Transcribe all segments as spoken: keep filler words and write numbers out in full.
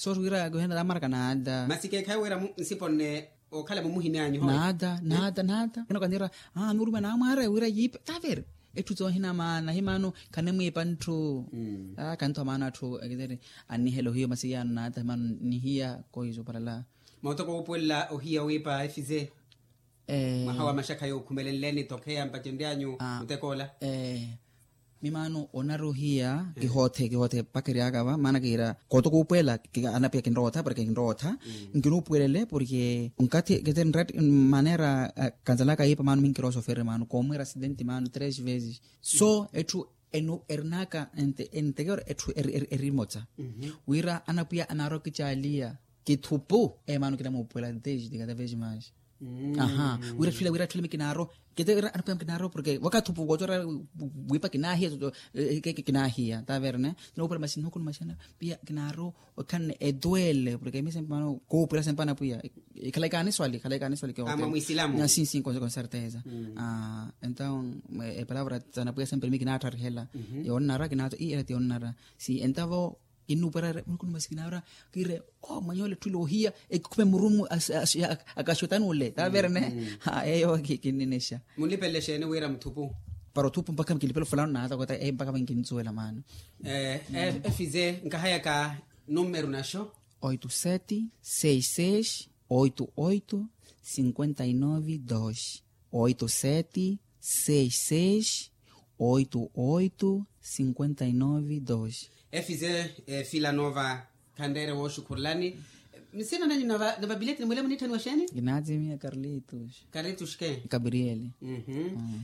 Soosi wira kuhenda tamaraka naata. Masi keekhayi wira nsipo nne okhala mumuhini anyu howe. Naata naata naata kena okanira. Aa nurume naamwaara wira yiipe tavere. Etthu toohina maana himaano khanimwiipa ntthu. Aa khantthu amaana atthu ekiteri. Annihela ohiya omasiyaano naata himaano nihiya kohizo parala. Mootoko wuupuwelela ohiya wiipa efize. Mwaha wa maxakha yookhumelenleni tokheya mpacenryanyu mutekoola. Mimaano onari ohiya kihoothe kihoothe mpakha eryaka va maana kiira kooto kuupuwela. Anapiya kinrootha porke kinrootha nkinuupuwelele porke nkathi kete nratti manera. Kanzalaka yiipa maano minkirosoferi maano koomwira asidenti maano tres vezes. So etthu erinaka entekero etthu erimotsa wira anapwiya anaari okicaaliya kithupu. Emaano kinamuupuwela desde cada vez mais. Aha wira tthwile wira tthwile mi kinaaro. Kete wira anapwiya mi kinaaro porke wakathi upukotora wiipa kinaahiya. Kinaahiya taverne. Noopwela masi nihukhu ni masi anapwiya kinaaro okhanne etwele porke mi sempe mano koopwela sempe anapwiya. Ikhala ikaaniswali ikhala ikaaniswali kiote. Mwa mwisilamu. Sinsi konserteza. Entaw epalavra sanapwiya sempe mi kinaattharikhela. Yoonnara kinaatho ii ela ti yoonnara. Si entavo kinnuuperare munuku ni masi kinaawira kiire. O mwanyoole tthwile ohiya ekikhume murumu akaxotani ole taverene. Eyo kinninexa. Munlipelele xeeni wira muthupu? Para othupu mpakha mikinlipela ofulano naata kota eyo mpakha minkinsuwela maano. Efize nkahayaka numeru naxo. Oito sete seis seis oito oito cinquenta e nove dois. Oito sete seis seis oito oito cinquenta e nove dois. Efize filanova. Khanreere wooxukhurulani. Nsina nanyu na vabileti ni mwilemu nitthaniwa xeeni? Kinaatimiya karlitus. Karlitus ke? Gabrieli.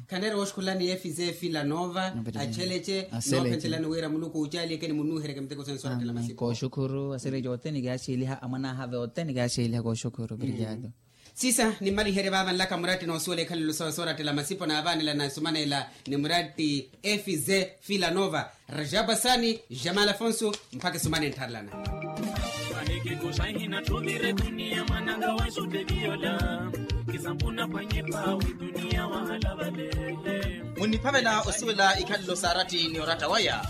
Khanreere wooxukhurulani efize filanova. Achelece noophentelani wira muluku oocaliyeke ni munnuuheryeke miteko sensu orattela masipo. Kooxukhuru asiri yothene kiyaaxeeliha amwan'aha vothene kiyaaxeeliha kooxukhuru obrigado. Sisa nimmaliherye vaava nlaka muratti noosuwela ikhalelo sawe soorattela masipo naavaanela na nsumanela ni muratti efize filanova. Rajaba sani jamal afonso. Mpakha esumane nttharelana. Vahikikuxa hinattuvire duniya mwananga wa xuteviyola. Kisampuna pwanyipa wi duniya wahala valele. Munniphavela osuwela ikhalelo saaratti ni oratta waya.